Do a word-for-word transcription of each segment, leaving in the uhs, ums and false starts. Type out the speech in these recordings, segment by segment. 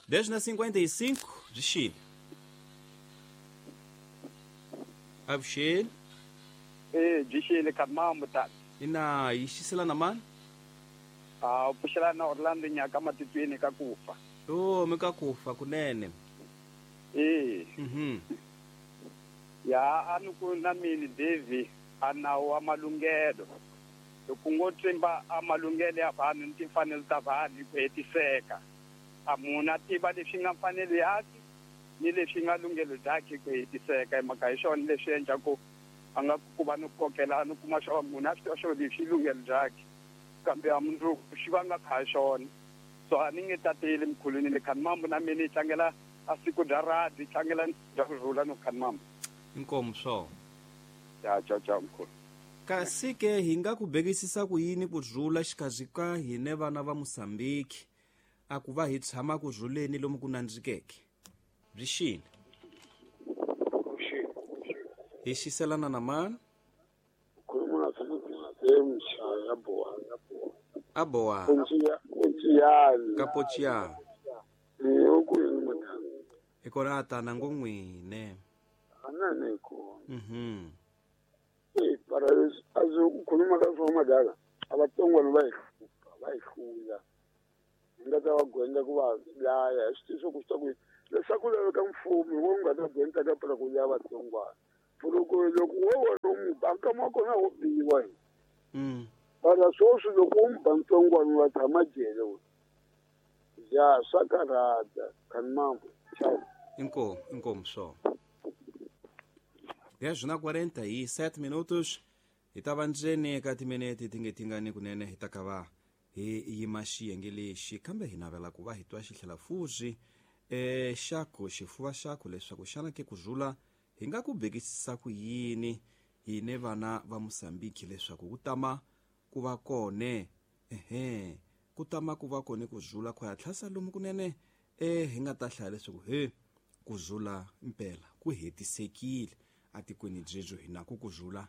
Dez na cinquenta e cinco, de Chile. Avuxeni. Eh, de Chile kamambo tata. Ina ixisela na mani? Ah, pfuxela na Orlando Nyaka matitweni ka kufa. Oh, mi ka kufa kunene. Eh. Mhm. Ya anuku na mini Davi anawo amalungelo. Loko ngo tsimba amalungelo ya vanhu ni timfanelo ta vanhu ku hetiseka. A munhu a tiva leswi nga mfanelo yakhe ni leswi nga lunghelo byakhe ku hetiseka hi mhaka hi swona leswi endlaku a nga ku va ni kokela ni kuma swo munhu a swi tiva swo leswi lunghelo byakhe kambe a mundzuku xi va nga kha xona. So a ni nge tateli mkhulwini le khanimambo na mina yi tlangela a siku bya radi tlangela bya ku rhula no khanimambo. Inkomu swo. Ya cha cha mkhulu. Kasi ke hi nga ku bekisisa ku yini ku rhula xikarhi ka hine vana va Mozambique a ku va hi tshama ku rhuleni lomu ku nandzikeke. Byi xini? Hi xiselana na mani? Aboa. Kapochia. Ikora ta na ngongwine. Ananeko. Mhm. Eh para azo ukhuluma ka swa madala abatsongwana va ihlupha va ihlula. Nga ta va gwenda ku va laya swi ku swi ku leswaku laveka mfumo wo nga ta gwenda ka para ku ya vatsongwana. Loko loko wo wo mu banka ma kona wo biwa. Mm. Para sweswi loko u mu ba ntsongwana wa tshama jele we. Ya swa karhata khanimambo. Ciao. Inkomu, inkomu só. Dez na quarenta e sete minutos. Hi ta va ndzeni ka timinete ti nge tingani kunene hi ta ka va hi yima xiyenge lexi kambe hi navela ku va hi twa xitlhela fuzi e xaku xifuva xaku leswaku xana ke ku rhula hi nga ku bekisisa ku yini hine vana va Mozambique leswaku ku tama ku va kone ehe ku tama ku va kone ku rhula ku ya tlhasa lomu kunene e hi nga ta hlaya leswaku he ku rhula mpela ku hetisekile atikweni byebyo hi na ku ku rhula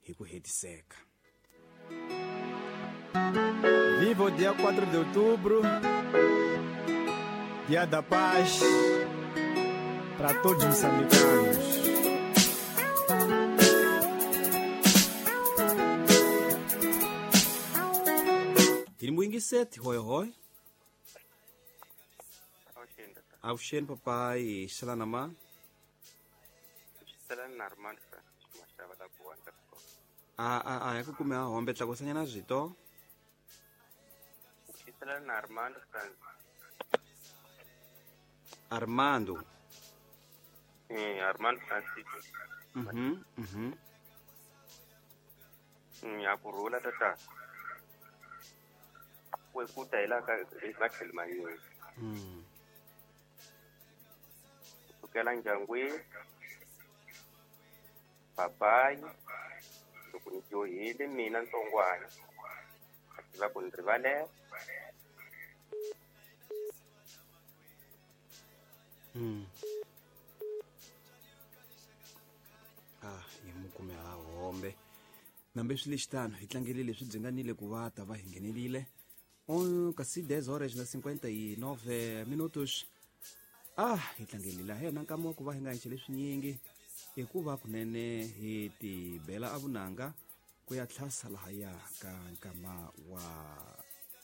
hi ku hetiseka. Viva o dia quatro de outubro, dia da paz para todos os moçambicanos. Tirimbuingiseti hoi hoi. Avuxeni papai, xelana ma. A a a ya ku kume a hombe tlakusanyana zwito. Armando. Eh, Armando Francisco. Mhm, mhm. Ya ku rhula tata. We ku ta ila ka matlhelo mambirhi. Mm. Kusukela ndyangwini papai loko ni dyohile mina ntsongwana a tiva ku ni rivalela. Mm. Ah, hi mu kume ha hombe. Nambe swi lexitano hi tlangele leswi byi nga nile ku va ta va hi nghenelile. Um, kasi dez horas na cinquenta e nove minutos. Ah, hi tlangelile hena nkama wa ku va hi nga enxe leswinyingi hikuva kunene hi tibela a vunanga ku ya tlhasa lahaya ka nkama wa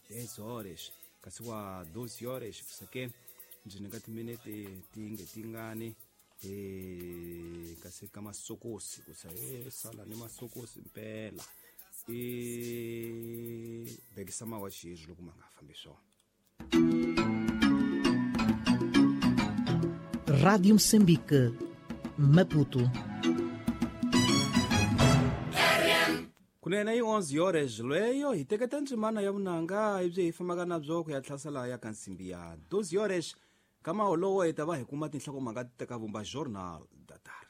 dez horas kasi wa doze horas kusake ndzi nga timinete ti nge tingani eh kasi ka masokosi kusa eh sala ni masokosi mpela e bekisa mawa xizwi loko ma nga fambi swona. Rádio Moçambique, Maputo. Kunene yi onze horas leyo hi teketa ndzimana ya vunanga ibyi hi fambaka na byo ku ya tlhasela ya ka nsimbi ya doze horas kama wolowo hi ta va hi kuma tinhlokomhaka ti teka vumba Jornal da Tarde.